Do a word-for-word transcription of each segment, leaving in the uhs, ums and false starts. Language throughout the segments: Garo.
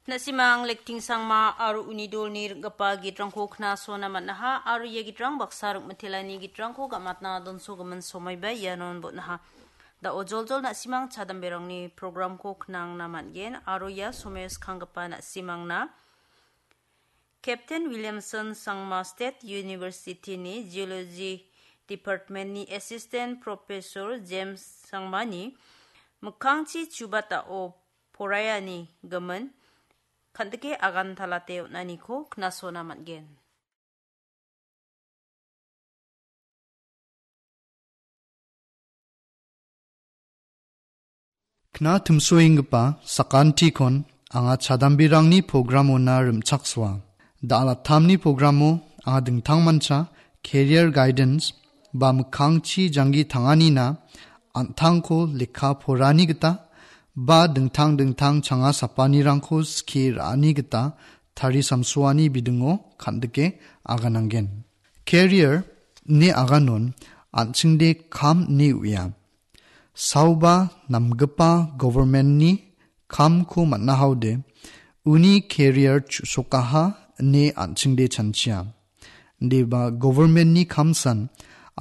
Na·simang Lektingsangma aro uni dolni ring·gipa gitrangko knasona man·aha aro ia gitrang baksa ring·mitelani gitrangko gamatna donsogimin somaiba ianon bon·aha. Da·o joljol na·simang chadamberangni programko knangna man·gen aro ia someo skanggipa na·simangna Captain Williamson Sangma State University-ni Geology Department-ni Assistant Professor James Sangmani mikkangchi chubatao poraiani gimin kan·dike agantalate on·aniko knasona man·gen. Kna timsoenggipa sakantikon anga chadambirangni programona rim·chaksoa. Da·alatamni programo anga dingtangmancha career guidance ba mikkangchi janggi tanganina an·tangko lekka porani gita ba dingtang dingtang changa sapanirangko skie ra·ani gita tarisamsoani bidingo kan·dike agananggen. Career ine aganon an·chingde kam ine uia. Saoba namgipa government-ni kamko man·ahaode uni career chu·sokaha ine an·chingde chanchia. Indiba government-ni kamsan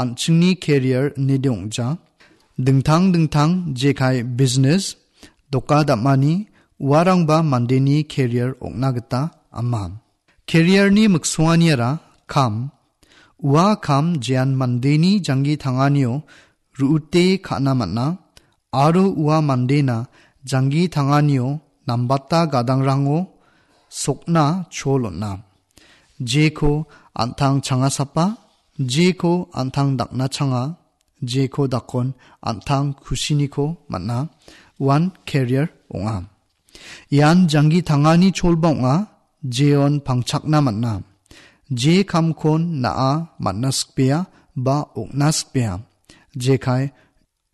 an·chingni career inede ong·ja. Dingtang dingtang jekai business, doka dam·ani, uarangba mandeni career ong·na gita ama. Career-ni miksonganiara kam, ua kam jean mandeni janggi tanganio ru·ute ka·na man·a, aro ua mandena janggi tanganio nambata gadangrango sokna chol on·a. Jeko an·tang changasapa, jeko an·tang dakna changa, jeko dakon an·tang kusiniko man·a, uan career ong·a. Ian janggi tangani cholba ong·a, jeon pangchakna man·a. Je kamkon na·a man·na sikbea ba ong·na sikbea. Jekai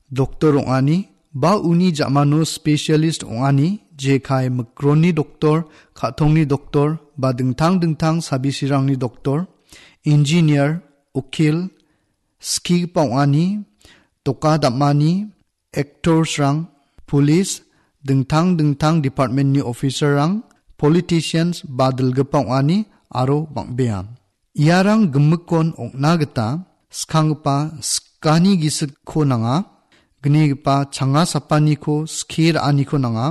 doktor ong·ani ba uni ja·mano specialist ong·ani, jekai mikronni doktor, ka·tongni doktor ba dingtang dingtang sabisirangni doktor, engineer, ukil, skigipa ong·ani, doka dam·ani, actors-rang, police, dingtang dingtang department-ni officer-rang, politicians ba dilgipa ong·ani aro bang·bea. Iarang gimikkon ong·na gita skanggipa sikani gisikko nanga, gnigipa changa sapaniko skie ra·aniko nanga,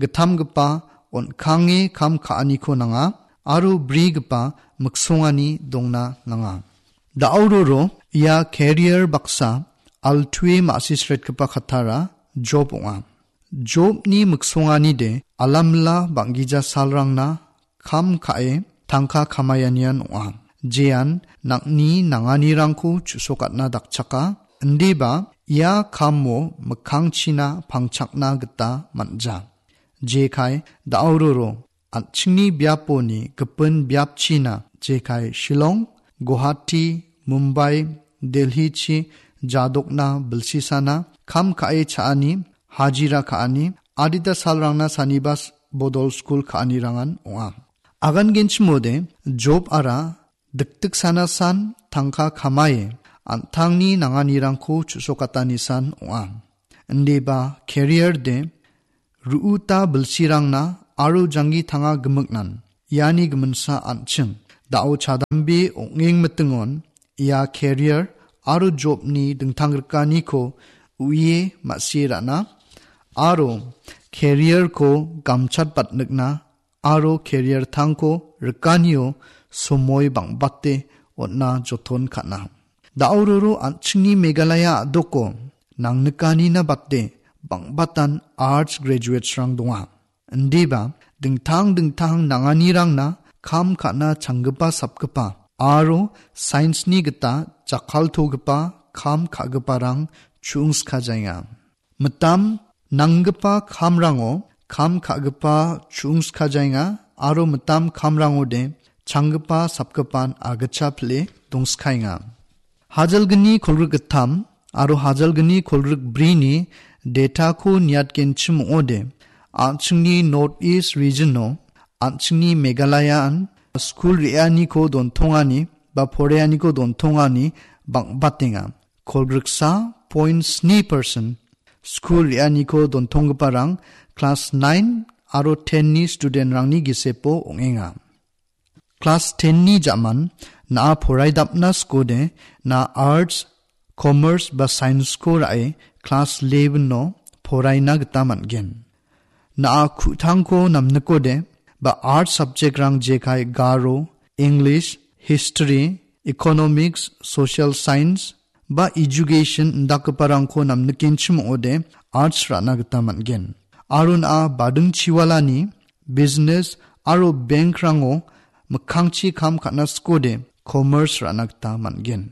gittamgipa on·kange kam ka·aniko nanga, aro brigipa miksongani dongna nanga. Da·auroro ia career baksa altue ma·sisretgipa katara Job ong·a. Jobni miksonganide alamila bang·gija salrangna kam ka·e tangka kamaianian ong·a. Jean nang·ni nanganirangko chu·sokatna dakchaka, indiba ia kamo mikkangchina pangchakna gita man·ja. Jekai da·auroro an·chingni biaponi gipin biapchina jekai Shillong, Guwahati, Mumbai, Delhichi jadokna bilsisana kam ka·e cha·ani, hajira ka·ani, adita salrangna sanibas bodol skul ka·anirangan ong·a. Agangenchimode Job-ara dikdiksanasan tangka kamae an·tangni nanganirangko chu·sokatanisan ong·a. Indiba career de ru·uta bilsirangna aro janggi tanga gimiknan. Iani giminsa an·ching. Da·o chadambe ong·eng mitingon ia career aro jobni dingtangrikaniko uie ma·sie ra·na aro career-ko gamchatbatnikna aro career-tangko rikanio somoi bang·bate on·na joton ka·na. Da·auroro an·chingni Meghalaya a·doko nangnikanina bate bang·batan arts graduates-rang donga. Indiba dingtang dingtang nanganirangna kam ka·na changgipa sapgipa aro science-ni gita jakkaltogipa kam ka·giparang chu·ungskajaenga. Mitam nanggipa kamrango kam ka·gipa chu·ungskajaenga aro mitam kamrangode changgipa sapgipan agitcha pile dongskaenga. Hajalgni kolgrik gittam aro hajalgni kolgrik brini data-ko niatgenchim ong·ode, an·chingni North East region-o, an·chingni Meghalaya-an skul re·aniko dontongani ba poreaniko dontongani bang·batenga. Kolgriksa point sni persen skul re·aniko dontonggiparang klas nain aro ten-ni studentrangni gisepo ong·enga. Klas ten-ni ja·man na·a poraidapna skode na·a arts, commerce ba science-ko ra·e klas eleven-o poraina gita man·gen. Na·a ku·tangko namnikode ba arts subject-rang jekai Garo, English, History, Economics, Social Science ba Education indakgiparangko namnikenchim ong·ode arts ra·na gita man·gen. Aro na·a badingchiwalani business aro bank-rango mikkangchi kam ka·na skode commerce ra·na gita man·gen.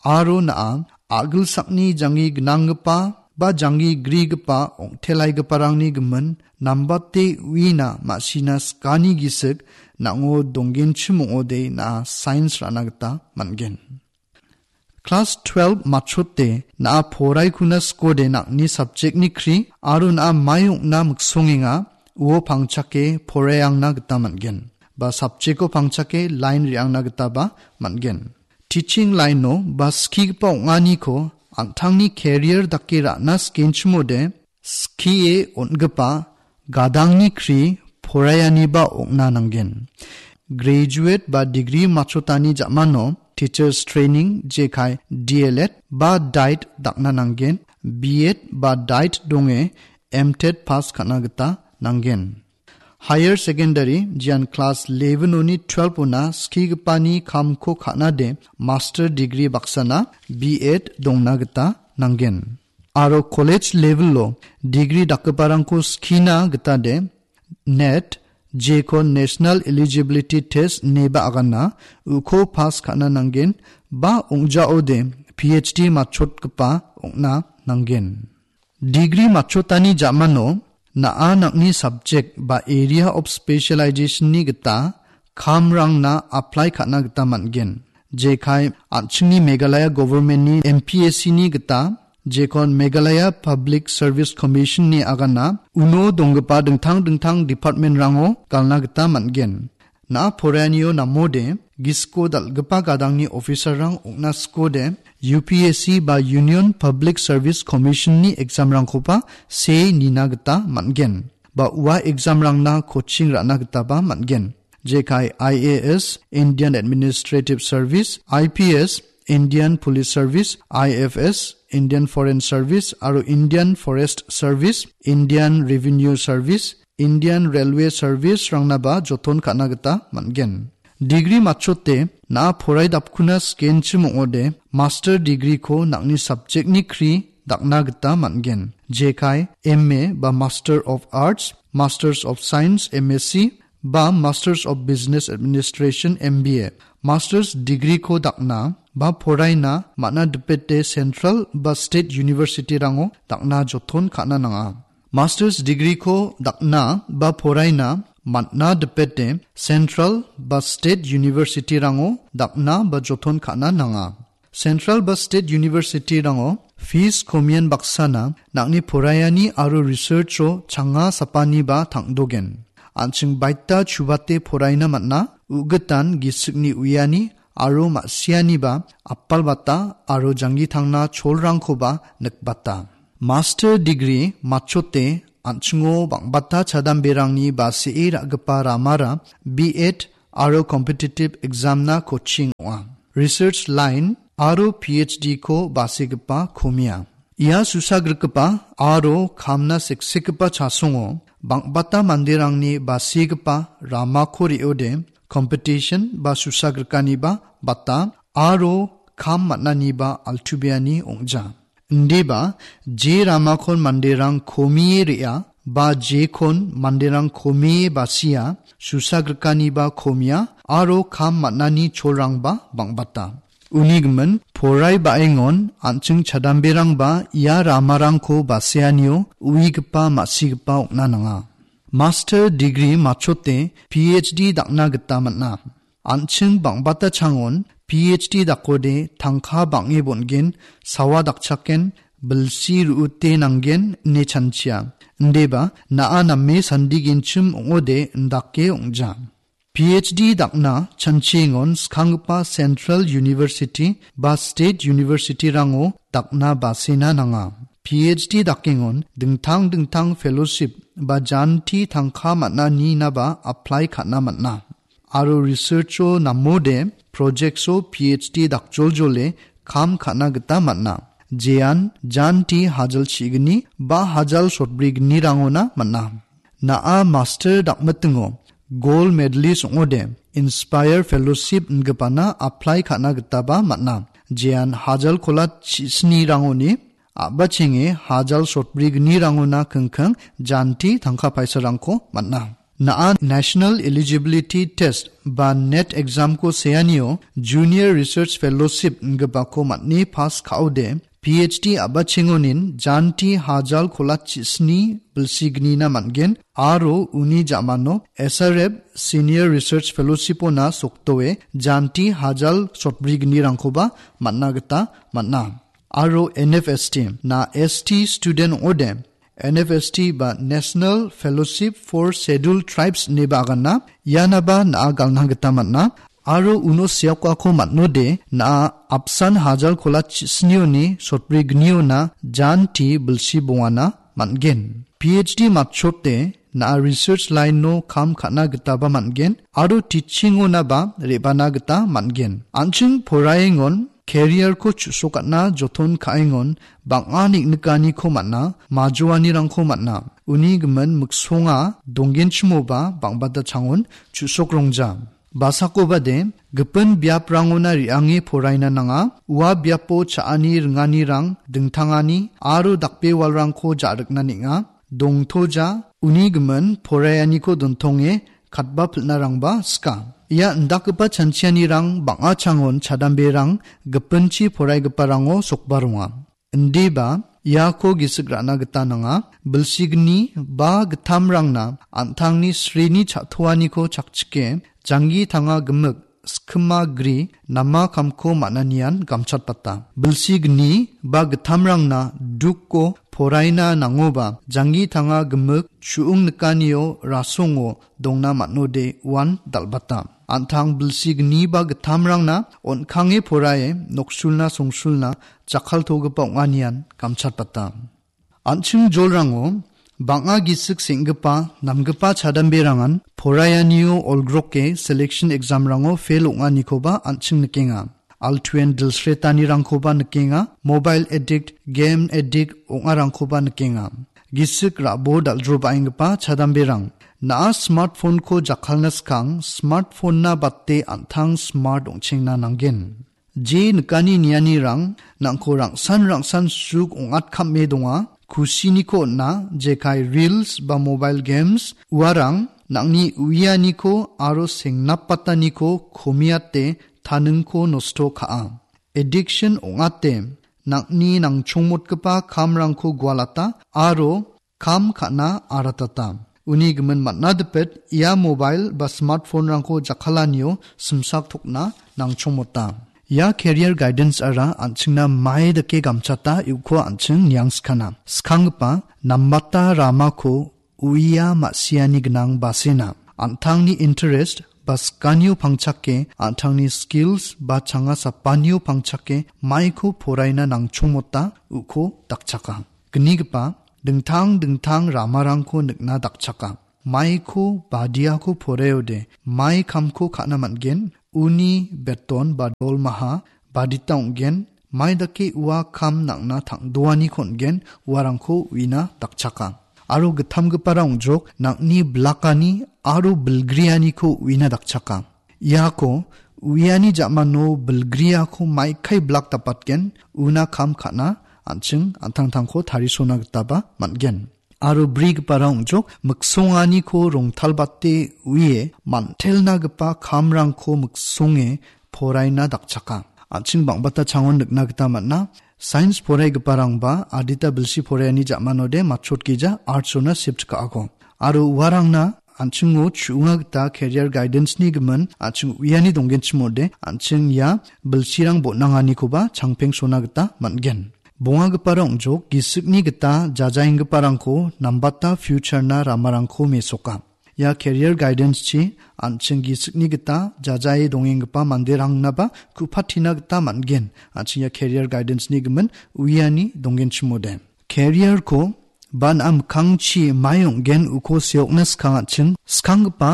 Aro na·a a·gilsakni janggi gnanggipa ba janggi grigipa ong·telaigiparangni gimin nambate uina ma·sina skani gisik nang·o donggenchim ong·ode na·a science ra·na gita man·gen. Klas twelve matchote na·a poraikuna skode nang·ni subject-ni kri aro na·a mai ong·na miksongenga uo pangchake poraiangna gita man·gen. Ba subject-o pangchake line re·angna gitaba man·gen. Teaching line-o ba skigipa ong·aniko an·tangni career dake ra·na skenchimode skie on·gipa gadangni kri poraianiba ong·na nanggen. Graduate ba degree matchotani ja·mano teachers training jekai D L Ed ba diet dakna nanggen, B Ed ba diet donge M Ted pass ka·na gita nanggen. Higher secondary jian klas eleven-oni twelve-ona skigipani kamko ka·nade master degree baksana B Ed dongna gita nanggen. Aro college level-o degree dakgiparangko skina gitade NET, jekon National Eligibility Test ineba agana, uko pass ka·na nanggen, ba ong·jaode P H D matchotgipa ong·na nanggen. Degree matchotani ja·mano na·a nang·ni subject ba area of specialization-ni gita kamrangna apply ka·na gita man·gen. Jekai an·chingni Meghalaya government-ni M P S C-ni gita jekon Meghalaya Public Service Commission-ni agana uno donggipa dingtang dingtang department-rango galna gita man·gen. Na·a poraianio namode gisiko dal·gipa gadangni officer-rang ong·na skode U P S C ba Union Public Service Commission-ni exam-rangkoba see nina gita man·gen. Ba ua exam-rangna coaching ra·na gitaba man·gen. Jekai I A S, Indian Administrative Service, I P S, Indian Police Service, I F S, Indian Foreign Service, aro Indian Forest Service, Indian Revenue Service, Indian Railway Service-rangnaba joton ka·na gita man·gen. Degree matchote na·a poraidapkuna skenchim ong·ode master degree-ko nang·ni subject-ni kri dakna gita man·gen. Jekai M A ba Master of Arts, Masters of Science, M S C, ba Masters of Business Administration, M B A. Masters degree-ko dakna ba poraina man·a dipete central ba state university-rango dakna joton ka·na nanga. Masters degree-ko dakna ba poraina man·a dipete central ba state university-rango dakna ba joton ka·na nanga. Central ba state university-rango fees komian baksana nang·ni poraiani aro research-o changa sapaniba tang·dogen. An·ching baita chubate poraina man·a, u·gitan gisikni uiani aro ma·sianiba apalbata aro janggi tangna cholrangkoba nikbata. Master degree matchote an·chingo bang·bata chadamberangni basee ra·gipa ramara B Ed aro competitive exam-na coaching ong·a. Research line aro P H D-ko basegipa komia. Ia susagrikgipa aro kamna seksekgipa chasongo bang·bata manderangni basegipa ramako re·ode competition ba susagrikaniba bata aro kam man·aniba altubeani ong·ja. Indiba je ramakon manderang komie re·a ba jekon manderang komie basia, susagrikaniba komia aro kam man·ani cholrangba bang·bata. Uni gimin, porai ba·engon an·ching chadamberangba ia ramarangko baseanio uigipa ma·sigipa ong·na nanga. Master degree matchote P H D dakna gita man·a. An·ching bang·bata changon P H D dakode tangka bang·e bon·gen, sawa dakchaken, bilsi ru·ute nanggen ine chanchia. Indeba na·a name sandigenchim ong·ode indake ong·ja. P H D dakna chanchiengon skanggipa Central University ba State University-rango dakna basena nanga. P H D dakengon dingtang dingtang fellowship ba janti tangka man·aninaba apply ka·na man·a. Aro researcho namode projectso P H D dakjoljole kam ka·na gita man·a. Jean janti hajal chigni ba hajal sotbrignirangona man·a. Na·a master dakmitingo gold medalist ong·ode Inspire Fellowship ingipana apply ka·na gitaba man·a. Jean hajal kolat chisnirangoni a·bachenge hajal sotbrignirangona kingking janti tangka paisarangko man·a. Na·a National Eligibility Test ba net examko seanio Junior Research Fellowship ingipako man·e pass ka·ode P H D a·bachengonin janti hajal kolat chisni bilsignina man·gen aro uni ja·mano S R F Senior Research Fellowshipona sokdoe janti hajal sotbrignirangkoba man·a gita man·a. Aro N F S T, na S T student ong·ode, N F S T ba National Fellowship for Scheduled Tribes ineba agana, ianaba na·a galna gita man·a. Aro uno seokako man·ode, na·a apsan hajal kolat chisnioni sotbrigniona janti bilsi bongana man·gen. P H D matchote na·a research line-o kam ka·na gitaba man·gen aro teaching-onaba re·bana gita man·gen. An·ching poraiengon career-ko chu·sokatna joton ka·engon bang·a neng·nikaniko man·a, majoanirangko man·a. Uni gimin miksonga donggenchimoba bang·bata changon chu·sok rongja. Basakobade, gipin biaprangona re·ange poraina nanga, ua biapo cha·ani ringanirang dingtangani aro dakbewalrangko ja·rikna neng·a. Dongtoja, uni gimin poraianiko dontonge katba pil·narangba sika. Ia indakgipa chanchianirang bang·a changon chadamberang gipinchi poraigiparango sokba ronga. Indiba iako gisik ra·na gita nanga. Bilsigni ba gittamrangna an·tangni srini cha·toaniko chakchike, janggi tanga gimik, skima gri, nama kamko man·anian gamchatbata. Bilsigni ba gittamrangna duko poraina nangoba, janggi tanga gimik, chu·ung nikanio rasongo dongna man·ode uan dal·bata. An·tang bilsigni ba gittamrangna on·kange porae noksulna songsulna jakkaltogipa ong·anian gamchatbata. An·ching jolrango bang·a gisik seng·gipa, namgipa chadamberangan poraianio olgroke selection exam-rango fail ong·anikoba an·ching nikenga. Altuen dilsretanirangkoba nikenga, mobile addict, game addict ong·arangkoba nikenga. Gisik rabo dal·drobaenggipa chadamberang. Na·a smartphone-ko jakkalna skang, smartphone-na bate an·tang smart ong·chengna nanggen. Je nikani nianirang nangko rangsan rangsan suk ong·atkame donga. Kusiniko on·a, jekai reels ba mobile games, uarang nangni uianiko aro sengnapataniko komiate taningko nosto ka·a. Addiction ong·ate nangni nangchongmotgipa kamrangko gualata aro kam ka·na aratata. Uni gimin man·a dipet ia mobile ba smartphone-rangko jakkalanio simsak tokna nangchongmota. Ia career guidance-ara an·chingna mai dake gamchata iuko an·ching niangskana. Skanggipa nambata ramako uia ma·siani gnang basena. An·tangni interest ba sikanio pangchake an·tangni skills ba changa sapanio pangchake maiko poraina nangchongmota uko dakchaka. Gnigipa dingtang dingtang ramarangko nikna dakchaka. Maiko badiako poreode mai kamko ka·na man·gen, uni beton ba dolmaha badita ong·gen, mai dake ua kam nang·na tang·doaniko on·gen, uarangko uina dakchaka. Aro gittamgipara ong·jok nang·ni blakani aro bilgrianiko uina dakchaka. Iako uiani ja·mano bilgriako maikai blak dapatgen, una kam ka·na an·ching an·tangtangko tarisona gitaba man·gen. Aro brigipara ong·jok miksonganiko rongtalbate uie man·telnagipa kamrangko miksonge poraina dakchaka. An·ching bang·bata changon nikna gita man·a. Sains poraigiparangba adita bilsi poraiani ja·manode matchotgija arts-ona shift ka·ako. Aro uarangna an·chingo chu·onga gita career guidance-ni gimin an·ching uiani donggenchimode an·ching ia bilsirang bon·anganikoba changpengsona gita man·gen. Bongagipara ong·jok, gisikni gita jajaenggiparangko nambata future-na ramarangko mesoka. Ia career guidance-chi an·ching gisikni gita jajae dongenggipa manderangnaba ku·patina gita man·gen. An·ching ia career guidance-ni gimin uiani donggenchimode. Career-ko ba na·a mikkangchi mai ong·gen uko seokna skang an·ching, skanggipa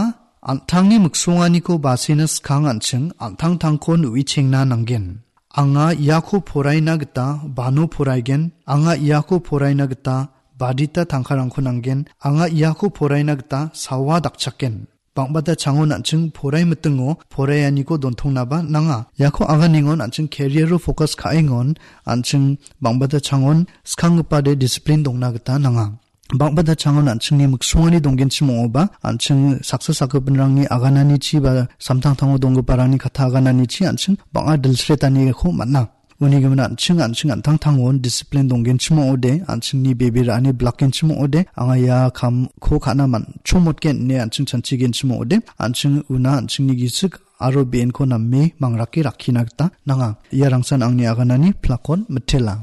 an·tangni miksonganiko basena skang an·ching, an·tangtangkon uichengna nanggen. Anga iako poraina gita bano poraigen, anga iako poraina gita badita tangkarangko nanggen, anga iako poraina gita sawa dakchaken. Bang·bata changon an·ching porai mitingo poraianiko dontongnaba nanga. Iako aganengon an·ching career-o focus ka·engon an·ching bang·bata changon skanggipade discipline dongna gita nanga. Bang·bata changon an·chingni miksongani donggenchim ong·oba, an·ching saksa sakgipinrangni agananichi ba samtangtango donggiparangni katta agananichi an·ching bang·a dilsretaniko man·a. Uni gimin an·ching, an·ching an·tangtangon discipline donggenchim ong·ode, an·chingni bebe ra·ani bilakgenchim ong·ode, anga ia kamko ka·na man-, chongmotgen ine an·ching chanchigenchim ong·ode, an·ching una an·chingni gisik aro be·enko name mangrake rakkina gita nanga. Ia rangsan angni aganani plakon mitela.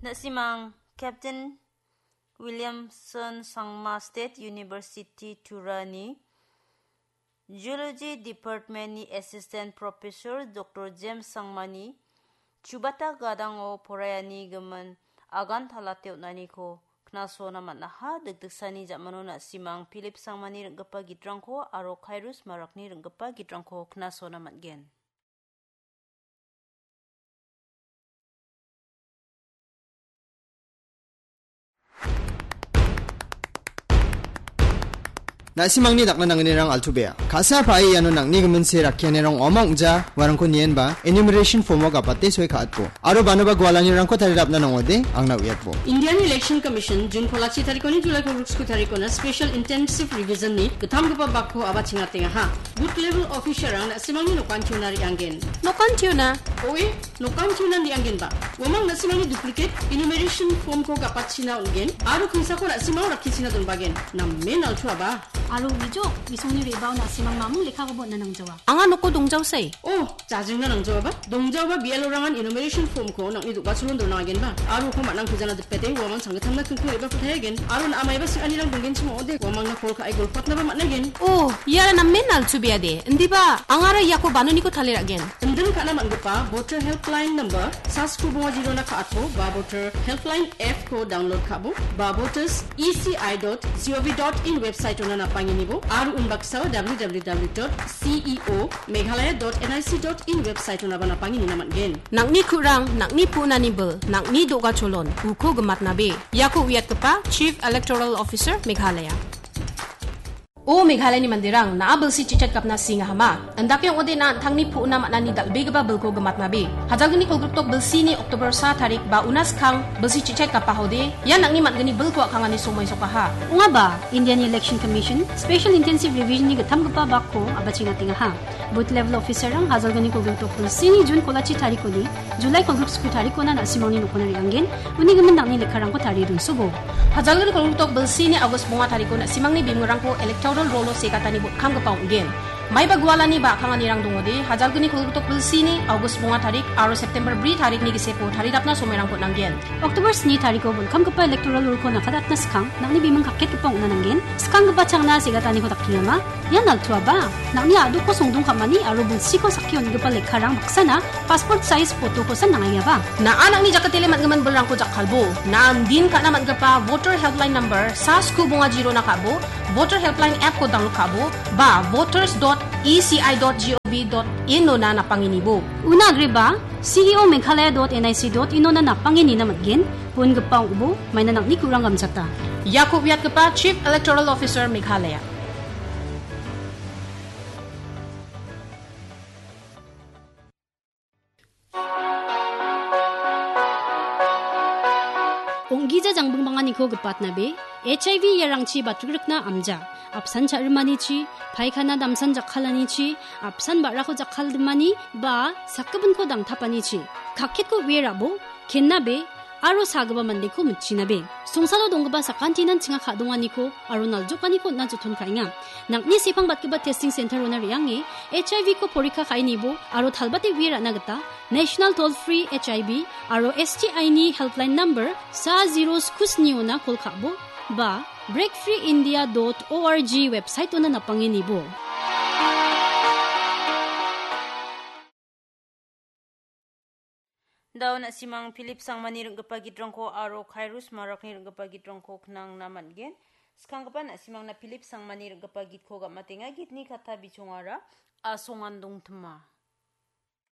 Na·simang Captain Williamson Sangma State University Turani Geology Department-ni Assistant Professor Doctor James Sangmani chubata gadango poraiani gimin agan talate on·aniko knasona man·aha. Dikdiksani ja·mano na·simang Philip Sangmani ring·gipa gitrangko aro Kairos Marakni ring·gipa gitrangko knasona man·gen. Na·simangni dakna nangnirang altu bea. Ka·sa pa·e iano nangni gimin se rakkianirang ong·a ong·ja uarangko nienba enumeration form-o gapate soi ka·atbo. Aro banoba gualanirangko tarirapna nangode angna uiatbo. Indian Election Commission June kolachi tarikoni July kolgriksku tarikona Special Intensive Revision-ni gittamgipa bakko aba chingatengaha. Booth level officer-rang na·simangni nokantiona re·anggen. Nokantiona? Oe, nokantiona re·anggenba. Uamang na·simangni duplicate enumeration form-ko gapatchina on·gen, aro kingsako na·simang rakkichina donbagen. Namen altuaba. Aro uijo, isongni re·bao na·simang mamung lekkakoba on·na nangjawa. Anga noko dongjaosai. Oh, jajingna nangjaoba. Dongjaoba B L O-rangan enumeration form-ko nang·ni do·gacholon dona agenba. Aro uko man·ang pejana dipete uamang sanggittamna kingko re·bako tayagen. Aro na·a maiba sing·anirang donggenchim ong·ode, uamangna call ka·e golpatnaba man·aigen. Oh, iara namen altubeade. Indiba, angara iako banoniko tale ra·gen. Indin ka·na man·gipa voter helpline number, sa sku bonga jirona ka·atbo, ba voter helpline app-ko download ka·bo, ba voters E C I dot G O V dot in website-ona napangenibo, aro unbaksao W W W dot C E O Meghalaya dot N I C dot in website-onaba napangenina man·gen. Nang·ni ku·rang, nang·ni pu·nani bil, nang·ni do·gacholon, uko gimatnabe. Iako uiatgipa Chief Electoral Officer Meghalaya. O Meghalayani manderang, na·a bilsi chichat gapna singahama. Indake ong·ode na an·tangni pu·na man·ani dal·begipa bilko gimatnabe. Hajalgni kolgrikdok bilsini October sa tarik ba una skang bilsi chichat gapahode, ia nang·ni man·gni bilko a·kangani somoi sokaha. Ong·aba, Indian Election Commission Special Intensive Revision-ni gittamgipa bakko abachengatengaha. Booth level officer-rang hajalgni kolgrikdok bilsini June kolachi tarikoni July kolgriksku tarikona na·simangni nokona re·anggen, uni gimin nang·ni lekkarangko tarie donsobo. Hajalgni kolgrikdok bilsini August bonga tariko na·simangni bimungrangko electoral roll-o segatani botkamgipa ong·gen. Maiba gualani ba a·kanganirang dongode, hajalgni kolgrikdok bilsini August bonga tarik aro September bri tarikni giseko tarirapna somoirangko nanggen. October sni tariko botkamgipa electoral roll-ko nakatatna skang, nang·ni bimung kaketgipa ong·na nanggen. Skanggipa changna segataniko dakkengama. Ian altuaba, nang·ni a·dokko songdong ka·mani aro bilsiko sakki on·gipa lekkarang baksana passport size photo-kosa nang·aiaba. Na·a nang·ni jakatele man·gimin bilrangko jakkalbo. Na·a indin ka·na man·gipa voter helpline number sa sku bonga jirona ka·bo, voter helpline app-ko download ka·bo, ba voters dot E C I dot G O V dot in-ona napangenibo. Una agreba, C E O Meghalaya dot N I C dot in-ona napangenina man·gen, bon·gipa ong·bo, maina nang·ni ku·rang gamchata. Iako uiatgipa Chief Electoral Officer Meghalaya. Ong·gija jangbingbanganiko gipatnabe, H I V iarangchi batrikrikna amja, apsan cha·rimanichi, paikana damsan jakkalanichi, apsan ba·rako jakkaldimani, ba sakgipinko dangtapanichi, kaketko uie rabo, kennabe, aro sagipa mandeko mitchinabe. Songsalo donggipa sakantinan chinga ka·donganiko aro naljokaniko on·na joton ka·enga. Nang·ni sepang batgipa testing center-ona re·ange H I V-ko porikka ka·enibo aro talbate uie ra·na gita National Toll Free H I V aro S T I-ni helpline number sa zero sku sni-ona call ka·bo ba breakfreeindia dot org website-ona napangenibo. Dao na·simang Philip Sangmani ring·gipa gitrangko aro Kairos Marakni ring·gipa gitrangko knangna man·gen. Skanggipa na·simangna Philip Sangmani ring·gipa gitko gam·atenga. Gitni katta bichongara asongan dongtima.